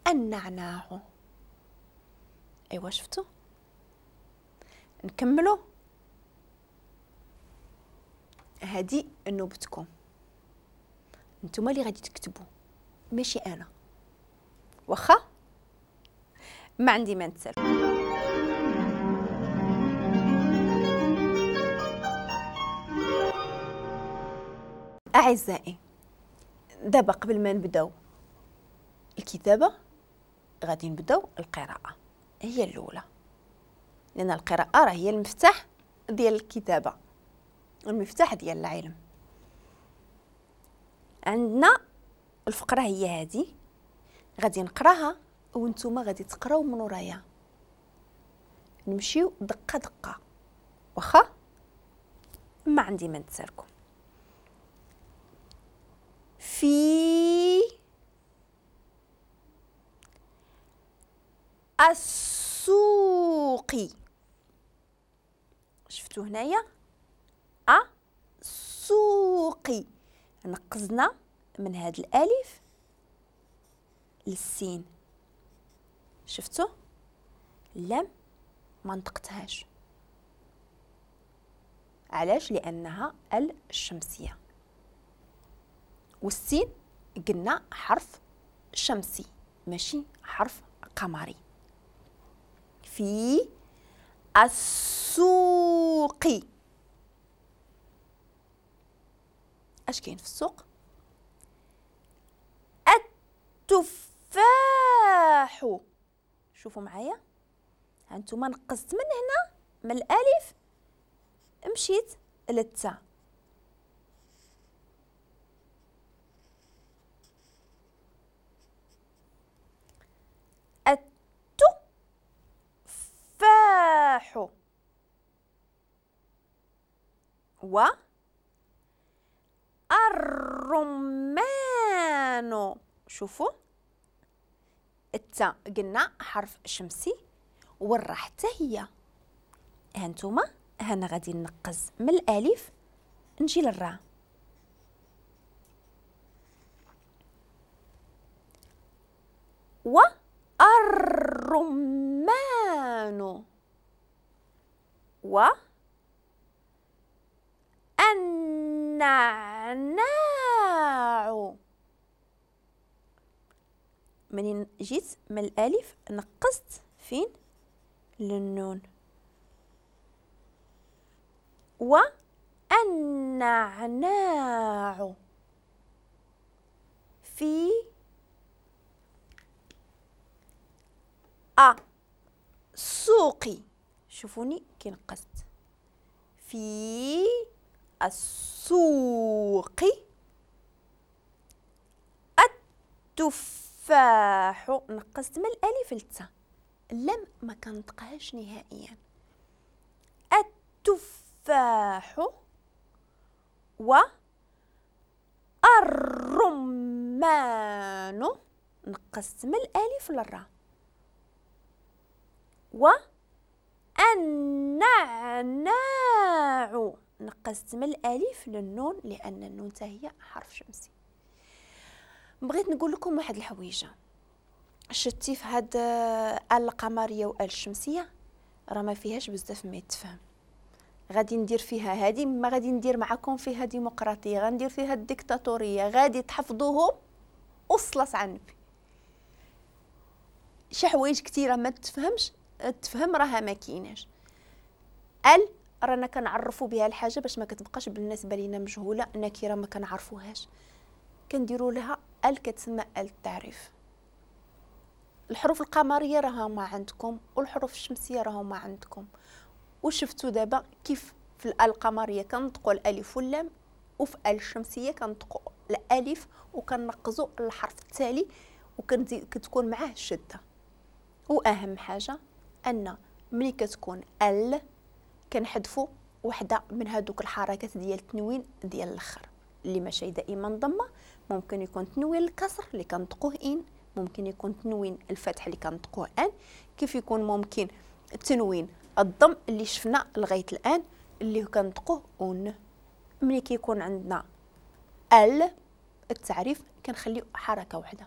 والنعناع. ايوا شفتوا؟ نكملوا. هذه نوبتكم، نتوما اللي غادي تكتبوا ماشي انا، واخا ما عندي ما نتسال. اعزائي دابا قبل ما نبداو الكتابة غادي نبداو القراءة هي الاولى، لان القراءة راه هي المفتاح ديال الكتابة، المفتاح ديال العلم. عندنا الفقرة هي هذه، غادي نقراها وانتم غادي تقراو من ورايا، نمشيو دقه دقه، واخا ما عندي ما نتسالكم. في السوق، شفتو هنايا السوق، نقزنا من هاد الالف للسين، شفتو اللام ما نطقتهاش، علاش؟ لانها الشمسية، والسين قلنا حرف شمسي ماشي حرف قمري. في السوق، اش كاين في السوق؟ التفاح. شوفوا معايا، هانتوما نقزت من هنا من الالف مشيت للتاء، التفاح و الرمان. شوفوا التاء قلنا حرف شمسي والراء حتى هي، هانتوما هنا غادي نقز من الالف نجي للراء، والرمان و النعناع. منين جيت من الالف نقصت فين؟ للنون، والنعناع في السوق. شوفوني كي نقصت في السوق التفاح، نقصت من الالف للتاء، اللام ما كنطقهاش نهائيا. التفاح و الرمان، نقصت من الالف للراء، و النعناع نقصت من الالف للنون لان النون حتى هي حرف شمسي. بغيت نقول لكم واحد الحويجه، شتي في هاد القمريه وال الشمسية راه ما فيهاش بزاف ما يتفهم، غادي ندير فيها هادي، ما غادي ندير معكم فيها ديمقراطية، غندير فيها الديكتاتوريه، غادي تحفظوهم وصلت على النبي. شي حوايج كثيرة ما تفهمش، تفهم راها ما كايناش. ال رانا كنعرفوا بها الحاجة باش ما كتبقاش بالنسبة لينا مجهولة، نكره ما كنعرفوهاش، كنديروا لها ال، كتسمى ال التعريف. الحروف القمريه راها ما عندكم، والحروف الشمسية راها ما عندكم. وشفتوا دابا كيف في ال القمريه كنطقوا الالف واللام، وفي ال الشمسية كنطقوا الالف وكنقزوا الحرف التالي وكتكون معاه الشدة. واهم حاجة ان ملي كتكون ال كنحذفوا وحده من هذوك الحركات ديال التنوين ديال الاخر اللي ماشي دائما ضمه، ممكن يكون تنوين الكسر اللي كنطقوه ان، ممكن يكون تنوين الفتح اللي كنطقوه ان، كيف يكون ممكن تنوين الضم اللي شفنا لغاية الان اللي كنطقوه اون. ملي كيكون عندنا ال التعريف كنخليو حركة واحدة.